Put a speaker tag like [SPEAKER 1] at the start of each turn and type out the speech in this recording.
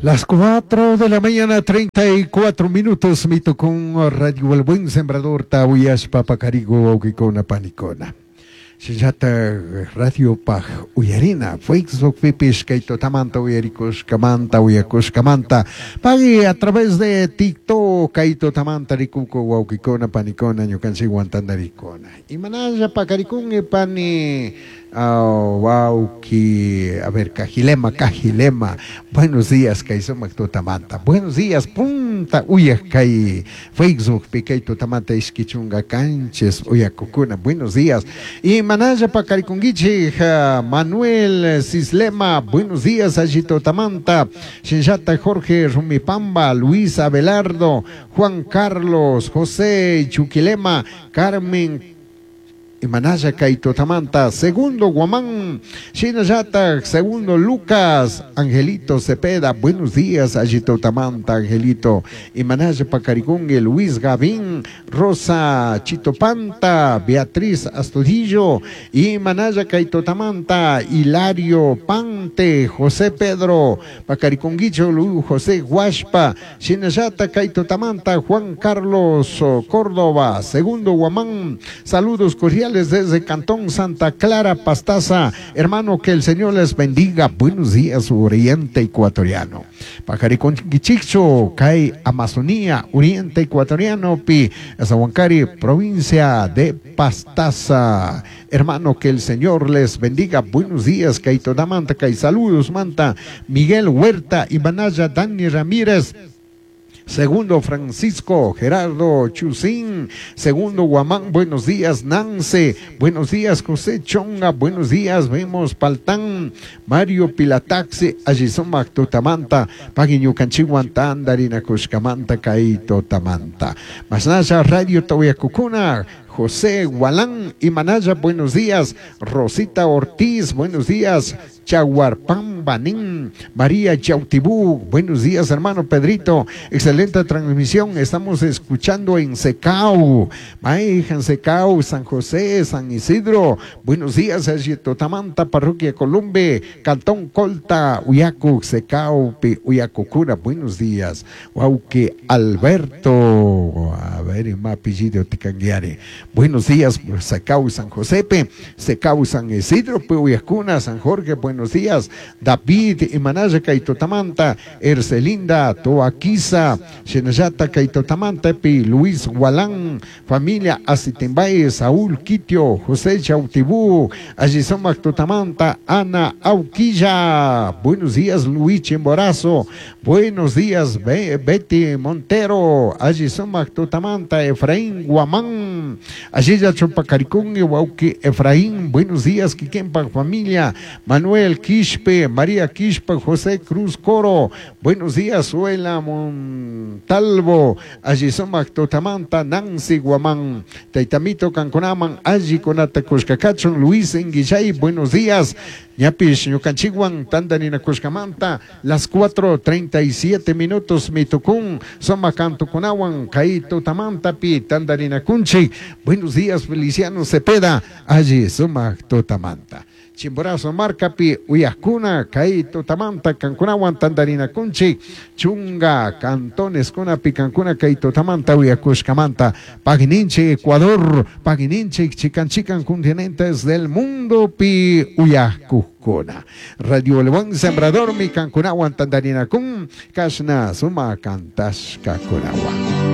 [SPEAKER 1] Las 4 de la mañana, 34 minutos, mito con Radio El Buen Sembrador, Tawiyashpa, Pacarigo, Wawkikuna, Panikuna. Shinallata Radio Paj Uyarina, Facebook pipish, kay tutamanta uyarikushkamanta, uyakushkamanta, pagui a través de TikTok, kay tutamanta rikuku, wawkikuna, panikuna, ñukanchikwan tantarikuna. Imanalla pakarikun pani, wawki, a ver, Cajilema, Cajilema, buenos días, kay sumak tutamanta, buenos días, punta uyak kay Facebook pi kay tutamanta ishki chunga kanchis uyakukuna, buenos días. Y manalla pakarikunkichik, Manuel Cislema, buenos días, allí tutamanta, Shinllata Jorge Rumipamba, Luis Abelardo, Juan Carlos, José Chuquilema, Carmen Imanalla kay tutamanta, segundo Guamán, Shinallata, segundo Lucas, Angelito Cepeda, buenos días, allí tutamanta, Angelito, Imanalla Pacarigungue, Luis Gavín, Rosa Chitopanta, Beatriz Astudillo, Imanalla kay tutamanta, Hilario Pante, José Pedro, Pacariconguicho, Luis José Guaspa, Shinallata kay tutamanta, Juan Carlos Córdoba, segundo Guamán, saludos cordiales desde Cantón Santa Clara, Pastaza. Hermano, que el Señor les bendiga. Buenos días, Oriente Ecuatoriano. Pajariconquichicho, Cay, Amazonía, Oriente Ecuatoriano, Pi, Azahuancari, provincia de Pastaza. Hermano, que el Señor les bendiga. Buenos días, Caito Damanta, Cay, saludos, Manta, Miguel Huerta, Ibanaya, Dani Ramírez. Segundo Francisco Gerardo Chusín, segundo Guamán, buenos días Nance, buenos días José Chonga, buenos días vemos Paltán, Mario Pilataxi, Allisomac Tutamanta, Paguiñucanchihuan Tandarina Cushcamanta, Caito Tamanta. Masnaya Radio Tahuyacucuna, José Gualán y Manaya, buenos días. Rosita Ortiz, buenos días. Chaguarpán Banín, María Chautibú, buenos días, hermano Pedrito. Excelente transmisión. Estamos escuchando en Secau, Maija, en Secau, San José, San Isidro. Buenos días, Tamanta, Parroquia Columbe, Cantón Colta, Uyacu, Secau, Uyacucura. Buenos días. Wauque Alberto, a ver, más apellido Ticanguiare. Buenos días, Secau, San Josepe, Secau, San Isidro, Uyacuna, San Jorge, buenos días. David, Imanaya, Kaitotamanta, Ercelinda, Toaquiza, Shenayata, Kaitotamanta, Pi, Luis Gualán, familia Asitimbay, Saúl Quitio, José Chautibú, Ayisomac Totamanta, Ana Auquilla. Buenos días, Luis Chimborazo. Buenos días, Betty Montero, Ayisomac Totamanta, Efraín Guamán, Ayiya Chupacaricún, Wauki Efraín. Buenos días, Quiquempa, familia, Manuel Quispe, María Quispe, José Cruz Coro. Buenos días, Suela Montalvo, Ayisomac Totamanta, Nancy Guamán, Taitamito Canconaman, Ayi Conata Cuscacachon, Luis Enguillay, buenos días. Ñapish, Ñucanchiguan, Tandanina Cuscamanta, las 4:37 minutos, Mitucún, Soma Cantucunawan, Caito Tamantapi, Tandanina Cunchi. Buenos días, Feliciano Cepeda, Ayi Suma Totamanta. Chimborazo Marcapi, Uyacuna, Caito Tamanta, Cancunawan, Tandarina Cunchi, Chunga, Cantones, Cunapi, Cancuna, Caito Tamanta, Uyacushcamanta, Pagininche, Ecuador, Pagininche, Chican Chican, continentes del mundo, Pi, Uyacucuna. Radio El Buen Sembrador, mi Cancunawan, Tandarina Cun, Cashna, Suma, Cantashka, Cunawan.